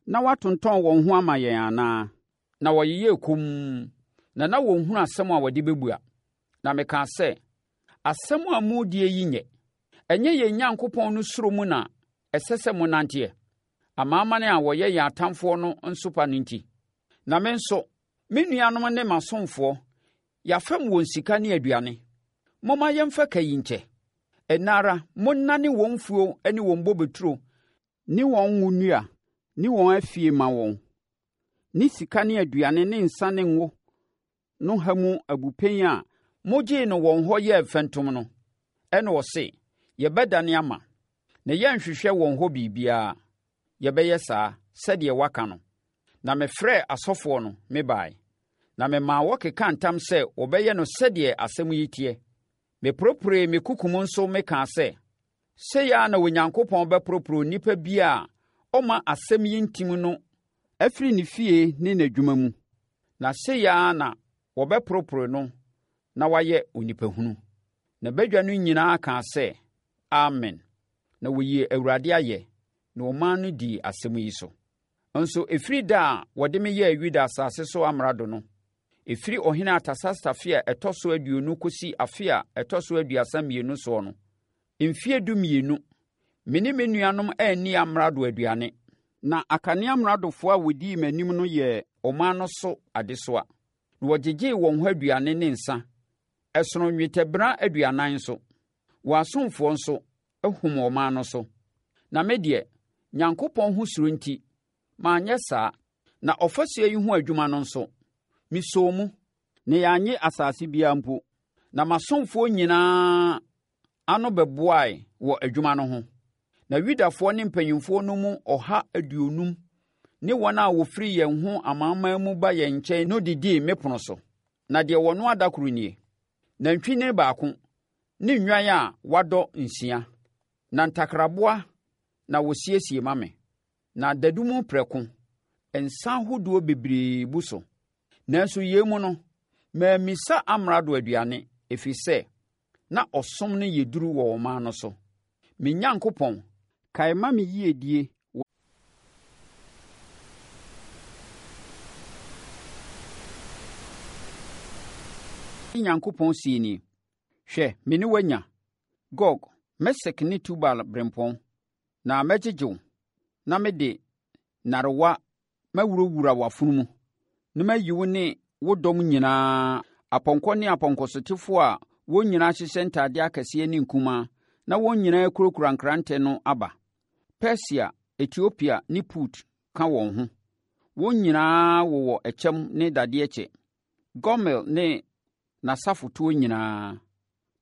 na wɔatontɔn wɔn ho ama yɛn anaa? Na wɔyeyɛɛ komm, na na wɔnhunu asɛm a wɔde bɛbua. Na mekaa sɛ, Asɛm a moredie yi nyɛ. Ɛnyɛ yɛn Nyankopɔn no suro mu na ɛsɛ sɛ monanteɛ, amanaman a wɔyɛ yɛn atamfoɔ no nsopa no nti. Na me nso, me nuanom ne m'asomfoɔ, yɛafɛm wɔn sika ne aduane. Momma yɛmfa ka yi nkyɛ. Ɛnnɛ ara monnane wɔn mfuo ne wɔn bobeturo ne wɔn ngo nnua ne wɔn afie mma wɔn, ne sika ne aduane ne nsã ne ngo no ha mu abupɛn a mogyee no wɔn hɔ yɛɛ mfɛntom no. Ɛnna ɔse, Yɛbɛdane ama, na yɛrenhwehwɛ wɔn hɔ biribiara. Yɛbɛyɛ saa, sɛdeɛ woaka no. Na mefrɛɛ asɔfoɔ no, mebaeɛ, na memaa wɔkekaa ntam sɛ wɔbɛyɛ no sɛdeɛ asɛm yi teɛ. Meporeporee me kukum nso mekaa sɛ, Sei ara na Onyankopɔn bɛporoporo onipa biara a ɔmma asɛm yi ntim no afiri ne fie ne n'adwuma mu, na sei ara na wɔbɛporoporo no na wayɛ onipahunu. Na badwa no nyinaa kaa sɛ, Amen! Na wɔyii Awurade ayɛ, na ɔman no dii asɛm yi so. Nso ɛfiri da a wɔde me yɛɛ Yuda asase so amrado no, ɛfiri ɔhene Artasasta afe a ɛtɔ so 20 kɔsi afe a ɛtɔ so 32 soɔ no, mfeɛ 12, me ne me nuanom anni amrado aduane. Na akane amradofoɔ a wɔdii m'anim no yɛɛ ɔman no so adesoa, na wɔgyegyee wɔn hɔ aduane ne nsã, ɛsono nnwetɛbena 40 nso. Wɔn asomfoɔ nso hom ɔman no so. Na me deɛ, Nyankopɔn ho suro nti, manyɛ saa. Na ɔfasuo yi ho adwuma no nso, mesɔɔ mu, na yɛannye asase biara mpo. Na m'asomfoɔ nyinaa ano bɛboae wɔ adwuma no ho. Na Yudafoɔ ne mpanimfoɔ no mu 150 ne wɔn a wɔfiri yɛn ho amanaman mu ba yɛn nkyɛn no didii me pono so. Na deɛ wɔnoa da koro nie: nantwinini baako ne nnwan a wɔadɔ nsia, na ntakraboa na wɔsiesie ma me, na dadu mu prɛko, nsã ahodoɔ bebree bu so. Nanso yei mu no, mammisa amrado aduane, ɛfiri sɛ na ɔsom no yɛ duru wɔ ɔman no so. Me Nyankopɔn, kae ma me yiedie wɔ. Nyankopɔn seɛ nie, Hwɛ, me ne wo anya, Gog, Mesek ne Tubal berempɔn, na mɛgyegye wo, na mede nnarewa mawurawura w'afono mu, na mayi wo ne wo dɔm nyinaa, apɔnkɔ ne apɔnkɔsotefoɔ a wɔn nyinaa hyehyɛ ntadeɛ akɛseɛ ne nkumaa, na wɔn nyinaa kurakura nkrantɛ no aba. Persia, Etiopia ne Put ka wɔn ho. Wɔn nyinaa wowɔ ɛkyɛm ne dadeɛ kyɛ. Gomer ne n'asafotoɔ nyinaa,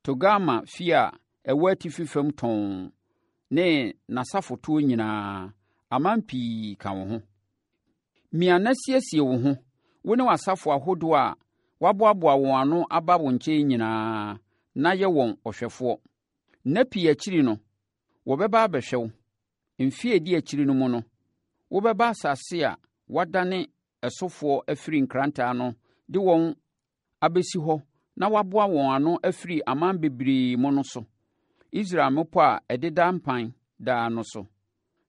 Togarma fie a ɛwɔ atifi fam tɔnn ne n'asafotoɔ nyinaa, aman pii ka wo ho. Mia na siesie wo ho, wo ne w'asafo ahodoɔ a wɔaboaboa wɔn ano aba wo nkyɛn nyinaa, na yɛ wɔn ɔhwɛfoɔ. Nna pii akyiri no, wɔbɛba abɛhwɛ wo. Mfeɛ a ɛdi akyire no mu no, wobɛba asase a wɔadane ɛsofoɔ afiri nkrantɛ ano de wɔn abɛsi hɔ na wɔaboa wɔn ano afiri aman bebree mu no so, Israel mmepɔ a ɛdeda mpan daa no so.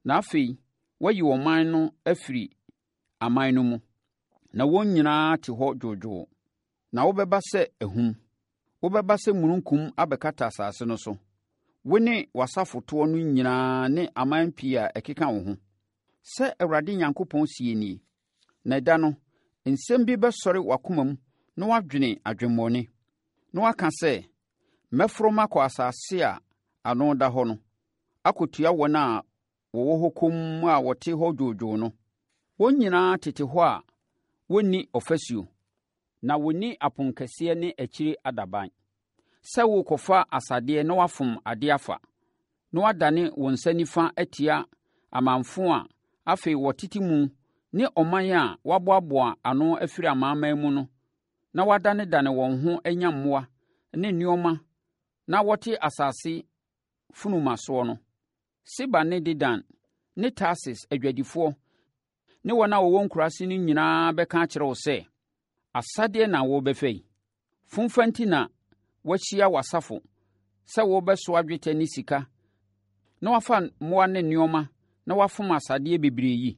Na afei woayi ɔman no afiri aman no mu, na wɔn nyinaa te hɔ dwoodwoo. Na wobɛba sɛ ahum, wobɛba sɛ mununkum abɛkata asase no so, wo ne w'asafotoɔ no nyinaa ne aman pii a ɛkeka wo ho. Sɛ Awurade Nyankopɔn seɛ nie, Na ɛda no, nsɛm bi bɛsɔre w'akoma mu na woadwene adwemmɔne, na woaka sɛ, 'Mɛforo makɔ asase a ano da hɔ no, akɔtua wɔn a wɔwɔ hɔ komm a wɔte hɔ dwoodwoo no. Wɔn nyinaa tete hɔ a wɔnni ɔfasuo. Na wɔnni aponkɛseɛ ne akyire adaban. Sɛ worekɔfa asadeɛ na woafom adeɛ afa, na woadane wo nsa nifa atia amamfo a afei wɔtete mu ne ɔman a wɔaboaboa ano afiri amanaman mu no na wɔadanedane wɔn ho anya mmoa ne nneɛma na wɔte asase funuma soɔ no, Seba ne Dedan ne Tarsis adwadifoɔ ne wɔn a wɔwɔ nkuraase no nyinaa bɛka akyerɛ wo sɛ, Asadeɛ na worebɛfa yi. Fomfa nti na woahyia w'asafo sɛ worebɛsoa dwetɛ ne sika na woafa mmoa ne nneɛma na woafom asadeɛ bebree yi?